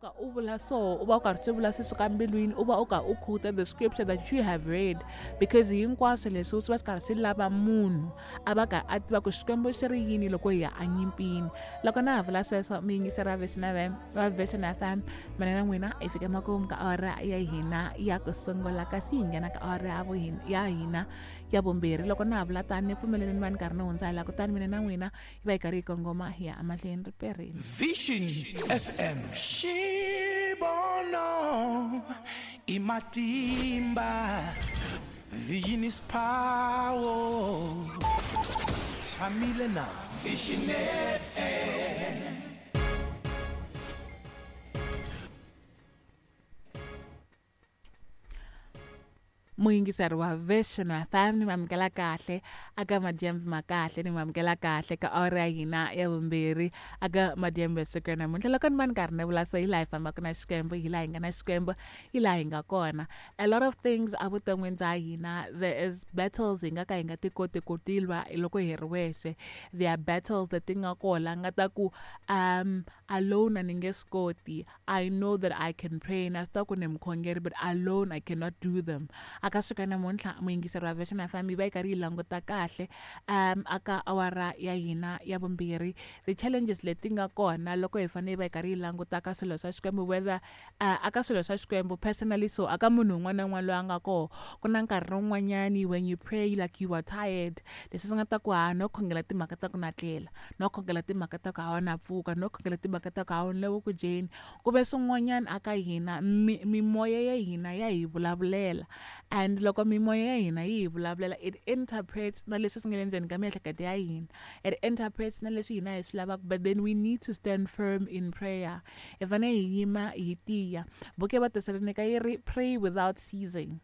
U ka u vula so u va u karhi swi vula swi suka mbilwini, u va u ka u quote the scripture that you have read, because hinkwaswo leswi swi va swi karhi swi lava munhu a va karhi a tiva ku Xikwembu xi ri yini loko hi ya enyimpini. Loko na ha vula sweswo, mi yingiseri va Vision FM, va Vision FM, mina na n'wina hi fike makumu ka awara ya hina ya ku sungula, kasi hi nghena ka awara ya ya hina ya vumbirhi. Loko na ha vula tani, ni pfumeleleni va ni karhi ni hundza hi laha, kutani mina na n'wina hi va hi karhi hi kongoma hi ya emahlweni ri perile. Vision FM. Xivono i matimba. Vision is power. Tshamile na Vision FM. Muyingiseri wa Vision FM, ni mamukela kahle aka madyambu ma kahle, ni mamukela kahle ka awara ya hina ya vumbirhi aka madyambu ya siku ra namuntlha. Loko ni va ni karhi ni vula so, hi laha hi fambaka na Xikwembu, hi laha hi nga na Xikwembu, hi laha hi nga kona. A lot of things evuton'wini bya hina, there is battles hi nga ka hi nga ti koti ku ti lwa loko hi ri wexe. There are battles leti nga kona nga ta ku alone a ni nge swi koti. I know that I can pray, na swi tiva ku ni mukhongeri, but alone I cannot do them. Aka siku ra namuntlha, muyingiseri wa Vision FM, yi va yi karhi yi languta kahle aka awara ya hina ya vumbirhi the challenges leti nga kona loko hi fanele hi va hi karhi yi languta ka swilo swa Xikwembu, whether aka swilo swa Xikwembu personally, so aka munhu un'wana na un'wana loyi a nga koho, ku na nkarhi wun'wanyani when you pray like you are tired, leswi swi nga ta ku ha no khongela timhaka ta ku na tlela, no khongela timhaka ta ku hawa na pfuka, no khongela timhaka ta ku hawa ni le ku dyeni, ku ve swin'wanyana aka hina mimoya ya hina ya hi vulavulela. And loko mimoya ya hina yi hi vulavulela, it interprets na leswi swi nga le ndzeni ka miehleketo ya hina, it interprets na leswi hina hi swi lavaka. But then we need to stand firm in prayer. Hi fanele hi yima hi tiya. Buku ya Vatesalonika yi ri pray without ceasing.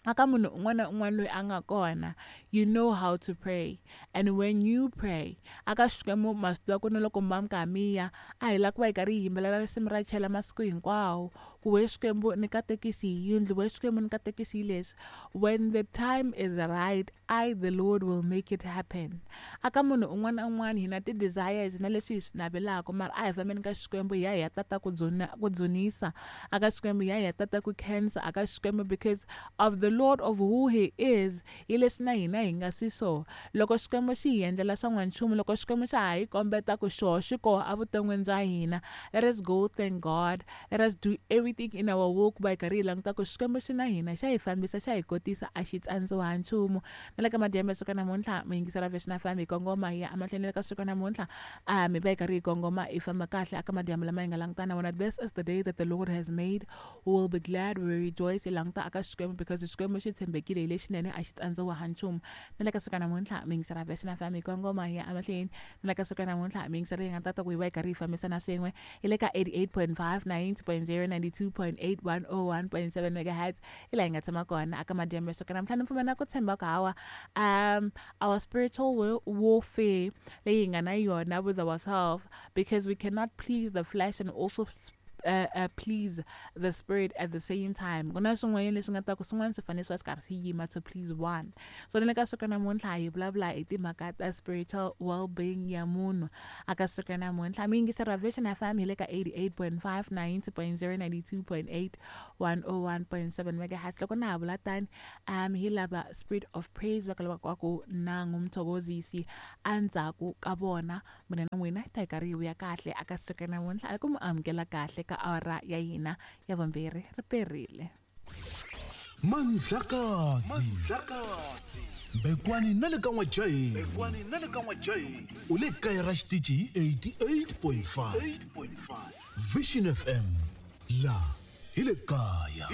Aka munhu un'wana na un'wana loyi a nga kona, you know how to pray, and when you pray aka Xikwembu, ma swi tiva ku na loko mi va mi karhi mi ya, a hi lava ku va hi karhi hi yimbelela risimu ra chela masiku hinkwawo ku we Xikwembu ni katekisi hi yindlu, we Xikwembu ni katekisi hi leswi. When the time is right, I the Lord will make it happen. Aka munhu un'wana na un'wana hi na ti-desires na leswi hi swi navelaka, mara a hi fambeni ka Xikwembu, hi ya hi ya tata ku dzuna, ku dzunisa aka Xikwembu, hi ya hi ya tata ku khensa aka Xikwembu, because of the Lord, of who he is, hi leswi na hina hi nga swi so. Loko Xikwembu xi hi endlela swa n'wanchumu, loko Xikwembu xa ha hi kombeta ku xoho xi koho evuton'wini bya hina, let us go thank God. Let us do everything in our will ku va hi karhi hi languta ku Xikwembu xi na hina, xa hi fambisa, xa hi kotisa, a xi tsandziwa ha nchumu. Na le ka madyambu ya siku namuntlha, muyingiseri wa Vision FM, hi kongoma hi ya emahlweni. Le ka siku namuntlha, mi va hi karhi hi kongoma hi famba kahle aka madyambu lama hi nga langutana na wona. This is the day that the Lord has made, we will be glad, we will rejoice. Hi languta aka Xikwembu because Xikwembu xi tshembekile, hi lexinene, a xi tsandziwa ha nchumu. Na le ka siku namuntlha, muyingiseri wa Vision FM, hi kongoma hi ya emahlweni. Na le ka siku namuntlha, muyingiseri, hi nga tata ku hi va hi karhi hi fambisana swin'we hi le ka 88.5, 90.0, 92.8, 101.7 megahertz, hi laha hi nga tshama kona aka madyambu ya siku namuntlha. Ni pfumela ku tshemba ku hawa our spiritual warfare leyi hi nga na yona with ourselves, because we cannot please the flesh and also please the spirit at the same time. Ku na swin'wanyana leswi nga ta ku swin'wana swi fanele swi va swi karhi swi yima to please one. So ni le ka siku namuntlha hi vulavula hi timhaka ta spiritual well-being ya munhu. Aka siku namuntlha, mi yingiseri wa Vision FM, hi le ka 88.5, 90.0, 92.8, 101.7 megahertz. Loko na ha vula tani, hi lava Spirit of Praise va ka lava ku na ngumthokozisi endzhaku ka vona, mina na n'wina hi ta hi karhi hi vuya kahle aka siku namuntlha a ku mi amukela kahle ka awara ya hina ya vumbirhi. Ri perile. Mandlakazi Mbekwani na le ka N'wajaheni u le kaya ra xitichi hi 88.5 Vision FM, la hi le kaya.